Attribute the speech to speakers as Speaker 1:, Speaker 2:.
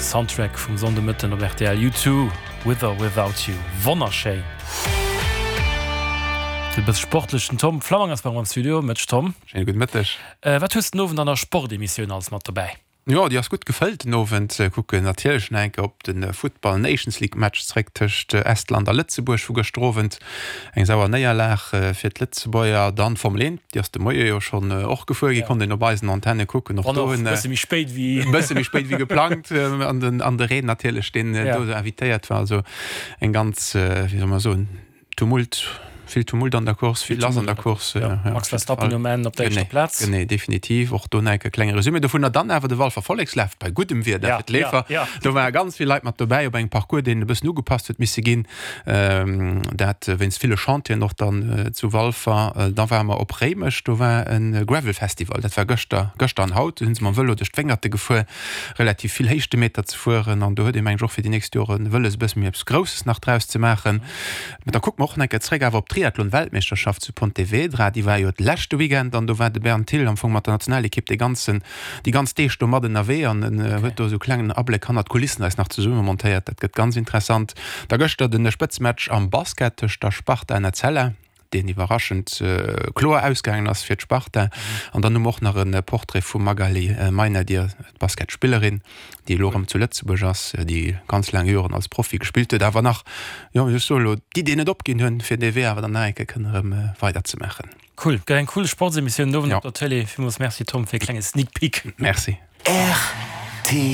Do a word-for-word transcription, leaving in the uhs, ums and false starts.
Speaker 1: Soundtrack vum Sonndemëtten op R T L. U Two, With or Without You. Wonnerschéin. De bësse sportlechen Tom Flammang ass bei mer am Studio. Mëtteg, Tom.
Speaker 2: Schéine gudde Mëtteg.
Speaker 1: Wat hues de den Owend an der Sportemissioun alles mat dobäi?
Speaker 2: Jo, déi ass gutt gefëllt den Owend. Kucken natierlech nach eng Kéier op de Futtball Nations League Match zeréck tëscht Estland a Lëtzebuerg vu gëschter Owend. Eng sauer Néierlag fir d'Lëtzebuerger. Dann d'Formel eent, déi ass de Moie jo schonn och gefuer ginn, konnt een op eisen Antenne kucken.
Speaker 1: Och do hunn. E bësse méi spéit wéi.
Speaker 2: E bësse méi spéit wéi geplangt. An den, an de Reen natierlech, deen do invitéiert war. Also eng ganz, wéi soll mer soen, Tumult, vill Tumult an der Course, vill lass an der Course.
Speaker 1: Ja, Max Verstappen um Enn op der éischter Plaz.
Speaker 2: Genee, definitiv. Och do nach e klenge Resumé dovunner. Dann awer de Walfer Vollekslaf bei guddem Wieder fir d'Leefer. Do ware ganz vill Leit mat dobäi op engem Parcours, deen e bëssen ugepasst huet misse ginn. Dat wéinst ville Chantieren och dann zu Walfer. Da ware mer op Réimech, do war e Gravel Festival. Dat war gëschter, gëschter an haut. Do si se mam Vëlo duerch d'Wéngerte gefuer, relativ vill Héichtemeter ze fueren. An do huet ee meng ech och fir déi nächst Joren wëlles e bësse méi eppes Grousses nach draus ze maachen. Mä da kucke mer och nach eng Kéier zréck awer op d'Triathlon-Weltmeeschterschaft zu Pontevedra. Déi war jo d'leschte Weekend an do war de Bern Thill am Fong mat der Nationalekipp dee ganzen, déi ganz Deeg do mat ënnerwee an en huet do esou e klengen Abléck hannert d'Kulissen eis nach zesumme montéiert. Dat gëtt ganz interessant. Da gëschter de Spëtzematch am Basket tëscht der Sparta an Etzella, deen iwwerraschend kloer ausgaangen ass fir d'Sparta. An dann hu mer och nach e Portrait vum Magaly Meynadier, d'Basketspillerin, déi elo erëm zu Lëtzebuerg ass, déi ganz laang Joren als Profi gespillt huet, awer nach, jo, ech soe elo, d'Idee net opginn hunn, fir dee Wee awer dann nach eng Kéier kënne erëm weiderzemaachen.
Speaker 1: Cool, gëtt eng cool Sportsemissioun den Owend op der Tëlee. Villmools Merci Tom fir e klenge Sneak Peek.
Speaker 2: Merci.
Speaker 3: Rtl.